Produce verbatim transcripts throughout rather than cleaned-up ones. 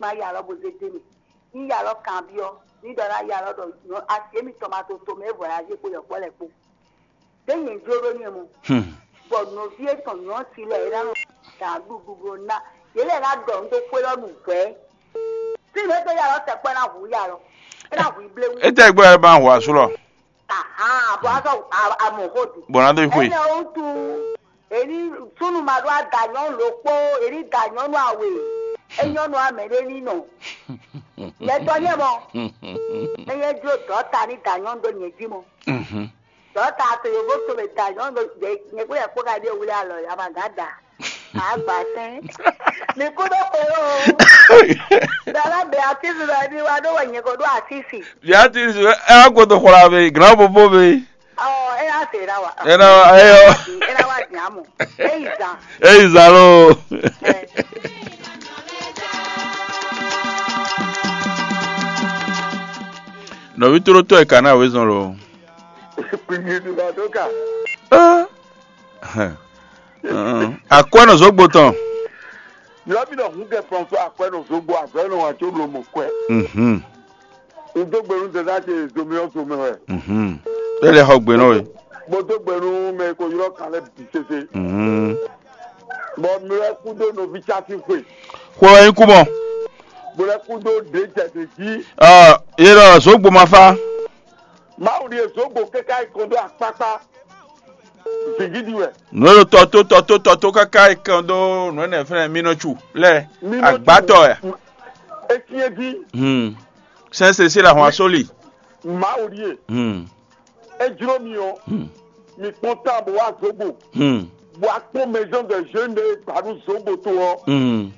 Ma ya alɔ bo zé dé mì. Ní ya alɔ kanbyɔ́, ní ɖɔ ná ya alɔ ɖɔ nyɔ asi émítɔn ma to tomɛ é vɔ ná zé kpo yɔkpɔ́ lɛ́ɛ kpó. Ɖé nyɛ jló ɖó nyɛ mɔ. Bɔ nɔví etɔn nyɔ̌ si lɛ é ná nɔ gǎn ɖuɖu ɖó ná. Yě lɛ ná ɖɔ nǔ ɖó xwé lɔ nǔ hwɛ̌. Fí nǔ é dó ya alɔ tɛkpɔ́ é ná hu ya alɔ. É ná hu i bléwú. Étɛ́ gbɔ ɛ ma hu asú lɔ? Ahan, bɔ azɔ amɔ xo di. Bɔ ná dó yi xwe. Enɛ wutu, èyí súnnu ma ɖó ada nyɔnu ɖokpó, èyí da nyɔnu awe, é nyɔnu amɛ ɖé ní nɔ. Nyɛ tɔ nyɛ mɔ. Eye jlo dɔta ní da nyɔnu ɖó nyɛ jí mɔ. Dɔta to yovo to mɛ da nyɔnu ɖó nyɛ kpé yɛ kpó ka ɖé wuli alɔ ya ma gǎ da. Agba sɛn. Mi kú ɖó xwe o. Dala bɛ atisi lɔ ní wa ɖó wɛ nyɛ ko ɖó atisi. Bia ti su ɛ wá godo xwla be, gran popo be. Ɔ, e y'a se la wa. E na wa, eyɔ. E na wa nya mɔ. E yi zan. E yi zan lo. Ɛ. Nɔvi tlótó ɛ ka ná wezɔn lo. Kpingin ɖu la dó ka. Ɛ. Akwɛ́ nɔ zǒgbo tɔn. Nyɔ̌ mi nɔ hun kɛ fɔnfɔn akwɛ́ nɔ zǒgbo azɔ̌ nɔ wǎn có bló mɔ kwɛ. Mhm. Un dó gbe nú dada ce zomɛ ɔ́ zomɛ wɛ. Mhm. E lɛ xɔ gbe nɔ we. Bó dó gbe nú mɛ e ko ylɔ́ kan lɛ́ɛ bǐ sese. Mhm. Bɔ mi wɛ kú dó nɔví cási xwe. Xwe wɛ nyí kú mɔ. Bó lɛ kú dó ɖě jɛ ɖě jí. Ɔ, yé ɖɔ zǒgbo ma fá. Mawu ɖíe zǒgbo káká yi kɔn dó akpákpá. Zǐngídi wɛ. Nǔ e ɖo tɔ tó tɔ tó tɔ tó káká yi kɔn dó nǔ énɛ́ fɛ́nɛ mínɔ́cu lɛ́ɛ. Mínɔ́cu. Agbátɔ wɛ. Esyɛ́n jí. Hmm. Sɛ́nsɛ́ sí la hɔn asóli. Mawu ɖíe. Hmm. É jló mi ɔ́. Hmm. Mi kpɔ́n tán bó wá zǒgbo. Hmm. Bó wá kpɔ́n maison de jeunes ɖé gbǎɖú zǒgbo tó ɔ́. Hmm.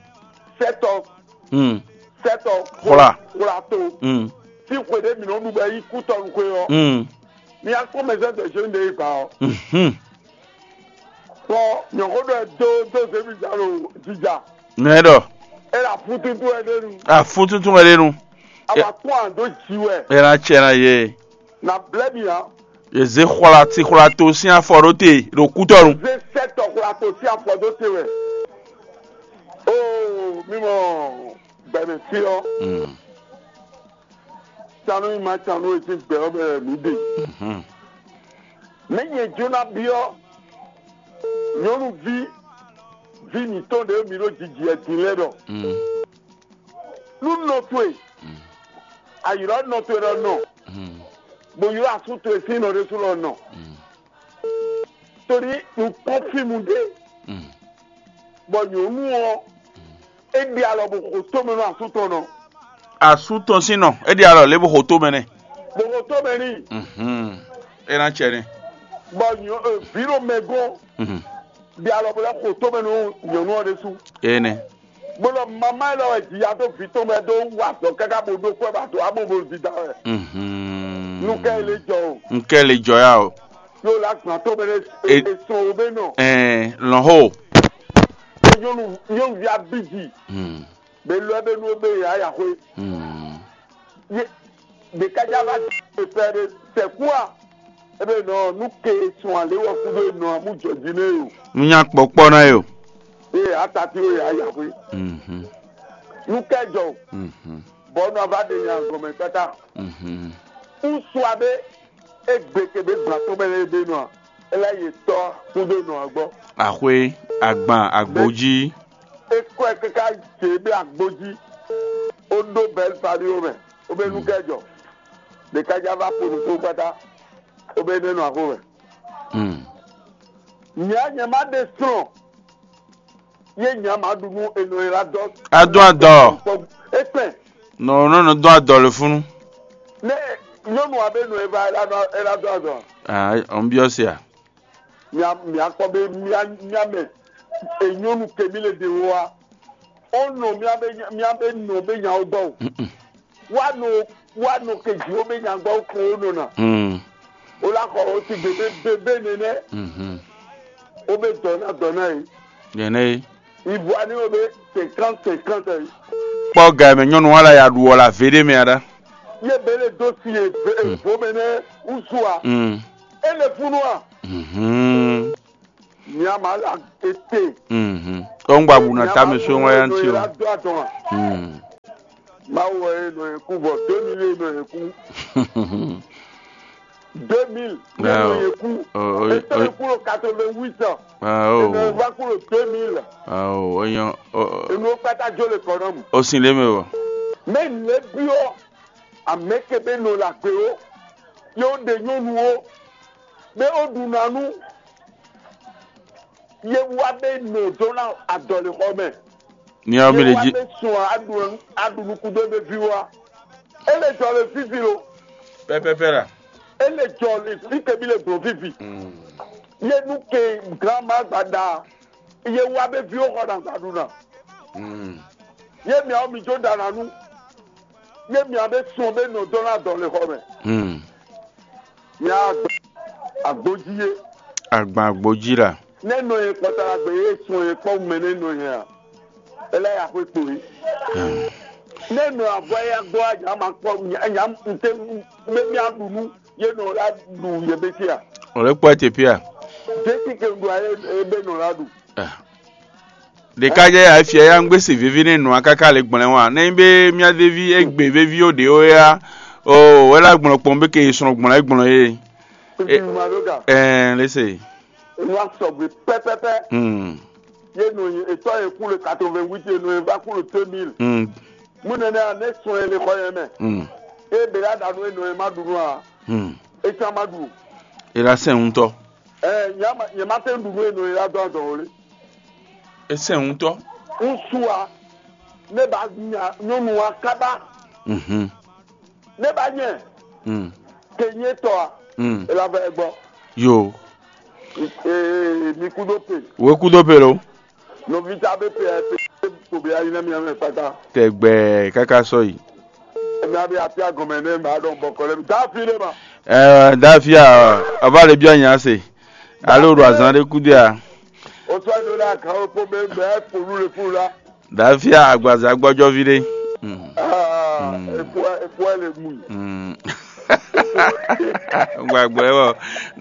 Sɛ́tɔ. Hmm. Sɛ́tɔ. Xwla. Xwla to. Hmm. Sín xwe ɖé mǐ nɔ ɖu bɔ é nyí kútɔnú xwe ɔ́. Hmm. Mi wá kpɔ́n maison de jeunes ɖé gbǎ ɔ́. Mhm. Kpɔ́n nyɔ̌xó ɖɔ ɛ dó dó zěmijǎ ɖo jija. Nɛ ɖɔ. É ɖo afúntúntún wɛ ɖé nu. Afúntúntún wɛ ɖé nu. Awa kpɔ́n ǎ dó jǐ wɛ. É ná cɛ ná yé. Na blɛ́ mi ǎ. Yě zé xwla ti xwla to sín afɔ ɖó te ɖo kútɔnu. Zé sɛ́tɔ xwla to sín afɔ dó te wɛ. Oo, mi mɔ gbɛmɛ fí ɔ́. Mm. Canu yi ma canu e sín gbɛ ɔ́ mɛ mǐ ɖe. Mhm. Mɛ nyɛ Jona byɔ́ nyɔ̌nuví ví mǐtɔn ɖě mǐ ɖo jijǐ wɛ din lɛ́ɛ ɖɔ. Mm. Nú nɔ towe, mm, a ylɔ́ nɔ towe ɖɔ nɔ, mm, bó ylɔ́ asú towe sín nɔ ɖésú ɖɔ nɔ. Mm. Tóli un kpɔ́n fí mu ɖé, mm, bɔ nyɔ̌nu ɔ́, é ɖe alɔ bó xo tómɛ nú asú tɔn nɔ. Asú tɔn sín nɔ, é ɖe alɔ lě bó xo tómɛ nɛ. Bó xo tómɛ n'i. Mhm. É ná cɛ nɛ. Bɔ nyɔ, e, vǐ ɖo mɛ gɔ́n, mhm, ɖe alɔ bó lɛ́ xo tómɛ nú nyɔ̌nu ɔ́ ɖésú. Énɛ́. Bó lɔ mamá élɔ́ wɛ jǐ ya dó vǐ tɔn mɛ dó wá azɔ̌ káká bó ɖó kwɛ́ ba dó amɔ bó dida wɛ. Mhm. Nú kɛ lè jɔ o. N kɛ lè jɔ ya o. Yóò lá gbọ́n tó bẹ́ẹ̀ e sɔn o bẹ́ẹ̀ nɔ. Ɛɛ, lɔn ho. Nyɔnu nyɔnuvi abidzi. Hmm. Bɛ lɔ bɛ nu bɛ ya ya xwe. Hmm. Ye de kadza va de pɛ de sɛ kua. Ebe nɔ nu ke sɔn ale wɔ fu de nɔ amu jɔ di ne yo. Nu nya kpɔkpɔ na yo. Ye atati o ya ya xwe. Mhm. Nu kɛ jɔ. Mhm. Bɔ nɔ va de nya gɔmɛ kpata. Mhm. Ŋutsu aɖe egbe ke be gbã tɔn mɛ lɛ be nɔ, e lɛ yi tɔ kúdo nɔ gbɔ. Axwe, agban, agbojí. E kɔ ɛ kaka dze be agbojí. O ɖo bɛl pali o mɛ, o be nu kɛ jɔ. Ɖeka ja va ƒo nu kpó kpata, o be ne nɔ axo mɛ. Hmm. Nya nya ma ɖe srɔ̃. Ye nya ma ɖu nú enɔ e la dɔ. Adɔn adɔ. Ekpɛn. Nɔ nɔ nɔ dɔn adɔ le funu. Ne nyɔnu abe nɔ e va e la dɔ e la dɔ adɔ. Ah, on biɔ sia. Mia mia kpɔ be mia mia mɛ. E nyɔnu ke mi le de wo wa. O nɔ mia be mia be nɔ be nya o gbɔ o. Mm-mm. Wa nɔ wa nɔ ke ji o be nya gbɔ o ko o nɔ na. Mm. O la xɔ o ti gbe be be be nɛnɛ. Mhm. O be dɔ na dɔ na ye. Nɛnɛ ye. Ivoire ni o be cinquante cinquante ye. Kpɔ ga mɛ nyɔnu wa la ya ɖu wɔ la vé ɖé mɛ aɖa. Ye be le do si ye ve evo mɛ nɛ usu a. Mm. E le funu a. Mhm. Mia ma la ete. Mhm. Ɔ ŋgba bu na tame so ŋwa ya ŋuti o. Mm. Mawu wɛ e nɔ yɛ kú vɔ deux mille e nɔ yɛ kú. Deux mille e nɔ yɛ kú. Etɔn e kú ɖo quatre-vingt-huit ans. E nɔ va kú ɖo deux mille. Awo, o nyɔ. Enu kpata jo le kɔnɔmu. O sin lé mɛ wɔ. Mɛ nɛ biɔ amɛ ke bɛ nɔ la gbe o. Ye wo ɖe nyɔnu o. Bɛ o ɖu nanu. Ye wa bɛ nɔ dɔn na adɔlixɔ mɛ. Miawo mi le jí. Bɛ sɔn aɖu aɖu nukudo bɛ vi wa. E le jɔ le vivi lo. Pɛpɛpɛ la. E le jɔ le fi ke bi le gbɔn vivi. Ye nu ke grandma gbada. Ye wa bɛ vi wo xɔ na gbadu na. Ye miawo mi jo da na nu. Ye mia bɛ sɔn bɛ nɔ dɔn na dɔlixɔ mɛ. Mia agboji ye. Agban agboji la. Ne nɔ ye kpɔtara gbe ye sɔn ye kpɔ mɛ ne nɔ ye a. Ele ya xwe kpo ye. Ne nɔ avɔ ya gbɔ a nya ma kpɔ nya nya nte me mia ɖu nu ye nɔ la ɖu ye bɛ tia. O le kpɔ te pia. Jesi ke ɖu a ye be nɔ la ɖu. Ɖeka jɛ ya fia ya ŋgbé se vevi ne nua káká le gblɛn wa ne be mia devi egbe vevi o ɖe o ya. O wɛ la gblɔ kpɔn be ke sɔn gblɔ e gblɔ ye. Ɛɛ lese. Nua sɔgbe pɛpɛpɛ. Hmm. Ye nɔ ye etɔ ye kú le quatre-vingt-huit ye nɔ ye va kú le deux mille. Hmm. Mu nɛnɛ a ne sɔn ye le xɔ ye mɛ. Hmm. E bɛ ya ɖa nu e nɔ ye ma ɖu nu a. Hmm. E can ma ɖu. E la sɛn ŋutɔ. Ɛɛ nyɛ ma nyɛ ma tɛ ɖu nu e nɔ ye la dɔn adɔn o le. E sɛn ŋutɔ. Ŋutsu a ne ba nya nyɔnu a kaba. Mhm. Ne ba nyɛ. Mm. Ke nyɛ tɔ a. Mm. E la vɛ gbɔ. Yo. Ee mi kudo pe. Wo kudo pe lo. Nɔvi ta bɛ pe ɛ pe ko bɛ ayi na mi amɛ kpata. Tɛgbɛ kaka sɔ yi. Emi abi afi agɔmɛ ne ma dɔn bɔkɔ lɛ mi da fi ne ma. Ɛɛ da fi a ɔba le bi ɔnya se. Alo ɖo azan ɖe kudo a. O sɔ do la kan o po bɛ bɛ polu le polu la. Dafia agbaza gbɔjɔvi ɖé. Mm. Ah, Mm. Epo epo le mu. Mm. Gbagbɔ ɛ wɔ.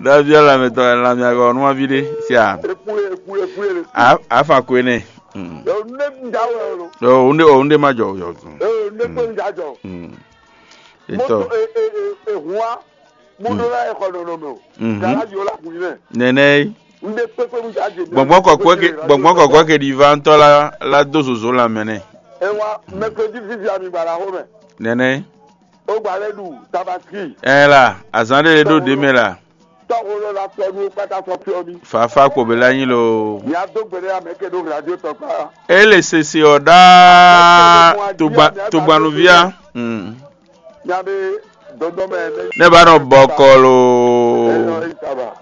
Dafia lamɛtɔ lamɛagɔ numavi ɖé sia. Epo epo epo le. A afa ko ene. Mm. Ne da wɛ lo. O unde o unde ma jɔ yɔ. Eh, ne ko da jɔ. Mm. Moto Etɔ. E e e e hua. Muɖó lɛ́ɛ xɔ nɔnɔmɛ o. Mhm. Galaji o la kun yi nɛ. Nɛnɛ yi. Un ɖe kpékpé mu jajɛ. Gbɔngbɔn kɔkɔɛ ke gbɔngbɔn kɔkɔɛ ke ɖi va ŋutɔ la la dó zozo lanmɛ nɛ. E wa mɛkodi vivi ami gbala xo mɛ. Nɛnɛ yi. O gba lɛ ɖu tabaski. Ɛ la azan ɖe ɖo ɖe mɛ la. Tɔxo lɔ la tɔ nu kpata sɔ fiɔ mi. Fafa kpo bɛ la nyi lo. Mia do gbe ɖe amɛ ke ɖo radio tɔ kpa. E le sese ɔ ɖaa tugbanuvia. Mm. Mia be dɔdɔ mɛ. Ne ba nɔ bɔkɔ lo. Ɛ lɔ yi taba.